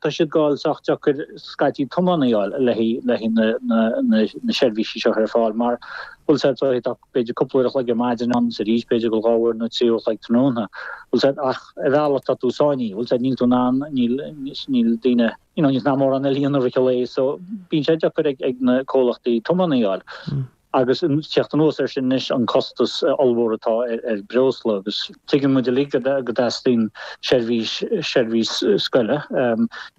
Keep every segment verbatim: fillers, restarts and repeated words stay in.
tá siad ag gabháil sách deacair scaití tiománaí a fháil le haghaidh na seirbhísí seo ar fáil mar bhfuil sé tá b'fhéidir cúpla uair a chloig ar maidin ann is arís b'fhéidir go dhá uair nó trí uair a chloig tráthnóna. Bhfuil sé ach ar bhealach tá tú sáinnithe, bhfuil sé níl tú in ann níl níl daoine you know níl ná mórán eile a dhéanamh i rith an lae so bíonn sé deacair ag ag na comhlachtaí tiománaí a fháil. Agus teacht anuas air sin anois an costas ollmhór atá ar breosla agus tuigeann muid uilig go dteastaíonn seirbhís seirbhís scoile.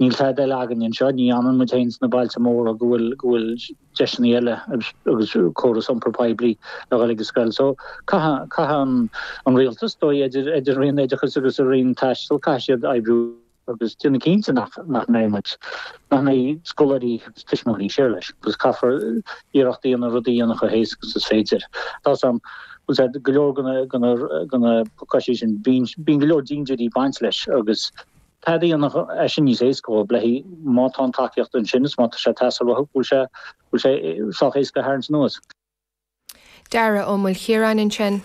Níl tada eile againn anseo, ní fhanann muid féin sna bailte móra go bhfuil go bhfuil deiseanna eile agus córas iompar poiblí le dhul ag an scoil. So caithfidh caithfidh an an rialtas dóigh idir idir Roinn Oideachais agus an Roinn Taistil caithfidh siad oibriú agus déanamh cinnte nach nach mbeidh muid, nach mbeidh scoláirí agus tuismitheoirí siar leis agus caithfear iarracht a dhéanamh rudaí a dhéanamh chomh héasca agus is féidir. Tá a fhios agam, bhfuil sé, go leor de na de na de na pacáistí sin, bíonn bíonn go leor dintiúirí ag baint leis agus tada a dhéanamh é sin níos éasca dhóibh le haghaidh má tá an tacaíocht ansin is má tá sé ag teastáil uathu, bhfuil sé bhfuil sé sách éasca a tharraingt anuas. Dara Ó Maoilchiaráin ansin.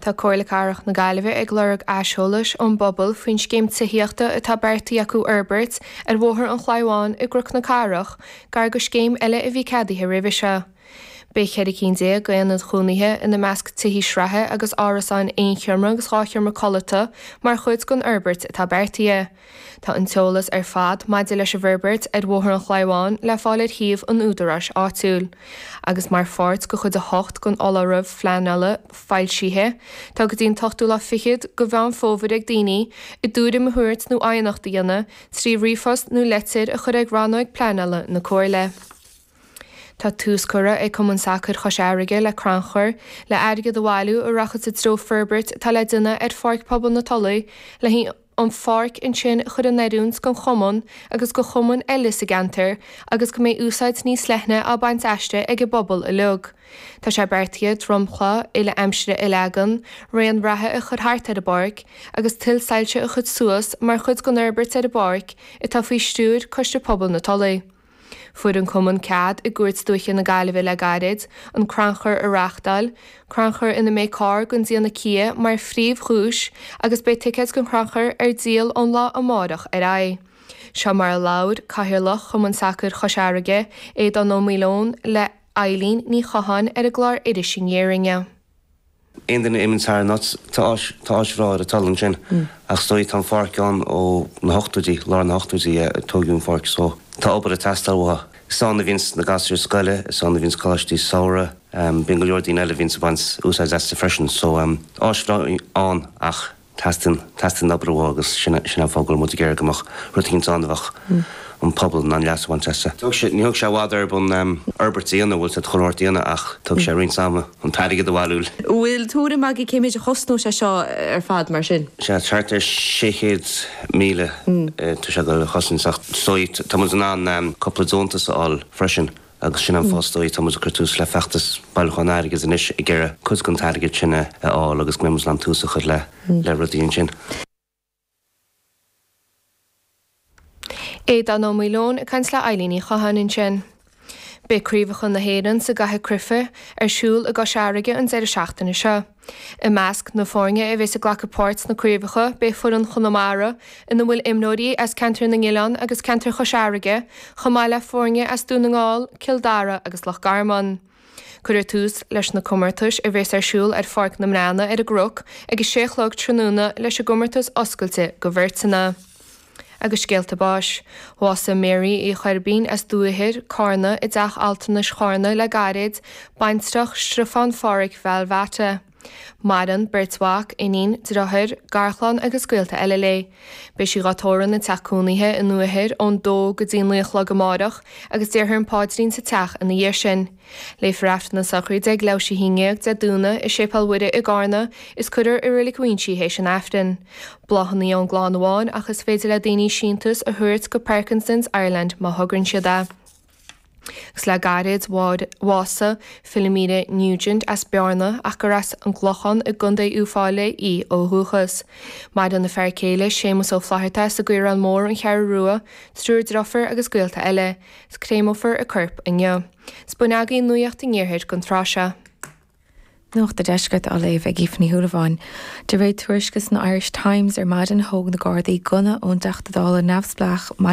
Tá Comhairle Cathrach na Gaillimhe ag lorg aiseolais ón bpobal faoin scéim tithíochta atá beartaithe acu a fhorbairt ar Bhóthar an Chlaí Bháin i gCnoc na Cathrach, gar do scéim eile a bhí ceadaithe roimhe seo. Beidh ceithre cinn déag d'aonaid chónaithe, ina measc tithí sraithe agus árasáin aon sheomra agus dhá sheomra codlata, mar chuid den fhorbairt atá beartaithe. Tá an t-eolas ar fad maidir leis an bhforbairt ar Bhóthar an Chlaí Bháin le fáil ar shuíomh an údaráis áitiúil. Agus mar pháirt de chuid a hocht den fholáireamh phleanála foilsithe, tá go dtí an t-ochtú lá fichead de Mheán Fómhair ag daoine a dtuairim a thabhairt nó aighneacht a dhéanamh trí ríomhphost nó leitir a chur ag Rannóg Pleanála na Comhairle. Tá tús curtha ag Cumann Sacair Chois Fharraige le crannchur le airgead a bhailiú a rachaidh sa treo forbairt atá le déanamh ar Pháirc Pobail na Tulaí le haghaidh an pháirc ansin a chur in oiriúint don chumann agus do chumainn eile sa gceantar agus go mbeidh úsáid níos leithne á baint aisti ag an bpobal uilig. Tá sé beartaithe dromchla uile-aimsire a leagan, raon reatha a chur thart ar an bpáirc agus tuilleadh soilse a chur suas mar chuid den fhorbairt ar an bpáirc atá faoi stiúir Coiste Pobail na Tulaí. Fuair an Cumann cead i gCúirt Dúiche na Gaillimhe le gairid an crannchur a reáchtáil, crannchur ina mbeidh carr den déanamh Kia mar phríomh-dhuais agus beidh ticéid don chrannchur ar díol ón lá amárach ar aghaidh. Seo mar a labhair Cathaoirleach Chumann Sacair Chois Fharraige, Aodán Ó Maoileoin, le Eilín Ní Chatháin ar an gclár Iris Aniar inniu. Aon duine a imíonn thar an áit, tá áis, tá áis bhreá ar an Tulaigh ansin ach is dóigh tá an pháirc ann ó na hochtóidí, lár na hochtóidí a tógadh an pháirc so tá obair ag teastáil uathu. Is ann a bhíonns na gasúir scoile, is ann a bhíonns coláistí samhraidh, bíonn go leor daoine eile a bhíonns ag baint úsáid aisti freisin so áis bhreá ann ach Teastaíonn, teastaíonn obair uathu agus sin, sin an fáth go bhfuil muid ag iarraidh go mbeadh rud eicínt ann a bheadh an pobal in ann leas a bhaint as. Thóg sé, ní thóg sé i bhfad orthu an fhorbairt a dhéanamh, bhfuil siad chuile shórt a dhéanamh ach thóg sé roinnt ama an t-airgead a bhailiú. Bhfuil tuairim agaibh cé méid a chosnóidh sé seo ar fad mar sin? Sea, thart ar sé chéad míle tá sé ag dul a chosaint ach is dóigh tá muid in ann cúpla deontas a fháil freisin. Agus sin an fáth is dóigh tá muid ag cur tús le feachtas bailiúcháin airgid anois ag iarraidh cuid den t-airgead sin a fháil agus go mbeidh muid in ann tús a chur le le rudaí ansin. Aodán Ó Maoileoin ag caint le Eilín Ní Chatháin ansin. Beidh Craobhacha na hÉireann sa gCaitheamh Cruife ar siúl i gCois Fharraige an deireadh seachtaine seo. I measc na foirne a bheas ag glacadh páirt sna craobhacha beidh foireann Chonamara, ina bhfuil imreoirí as Ceantar na nOileán agus Ceantar Chois Fharraige, chomh maith le foirne as Dún na nGall, Cill Dara agus Loch Garman. Cuirfear tús leis na comórtais, a bheas ar siúl ar Pháirc na mBreanna ar an gCnoc ag a sé a chlog tráthnóna leis an gcomórtas oscailte do bheirteanna. Agus scéalta báis. Bhásaigh Mary Uí Choirbín as Dúiche, Carna, i dTeach Altranais Charna le gairid, baintreach Stiofán Phádhraic Bhealbhata. Maireann beirt mhac, iníon, deartháir, garchlann agus gaolta eile léi. Beidh sí dhá tórramh ina teach cónaithe i nDúiche ón dó go dtí naoi a chlog amárach agus déarfar an paidrín sa teach ina dhiaidh sin. Léifear Aifreann na sochraide ag leathuair théis a haon déag Dé Domhnaigh i Séipéal Mhuire i gCarna is cuirfear i Reilig Mhuinsí théis an Aifrinn. Bláthanna ón gclann amháin ach is féidir le daoine síntiús a thabhairt go Parkinson's Ireland má thograíonn siad é. Agus le gairid bhásaigh Philomena Nugent as Bearna ach gur as an gClochán i gContae Uíbh Fhailí í ó dhúchas. Maireann a fear céile Séamus Ó Flatharta as an gCaorán Mór, An Cheathrú Rua, triúr deirfiúr agus gaolta eile. Is créamófar a corp inniu. 'S b'in agaibh Nuacht an Iarthair don tráth seo. Nuacht an Deiscirt á léamh ag Aoife Ní Shúilleabháin. De réir tuairisce san Irish Times ar maidin thóg na Gardaí gunna ón dTeachta Dála neamhspleách Michael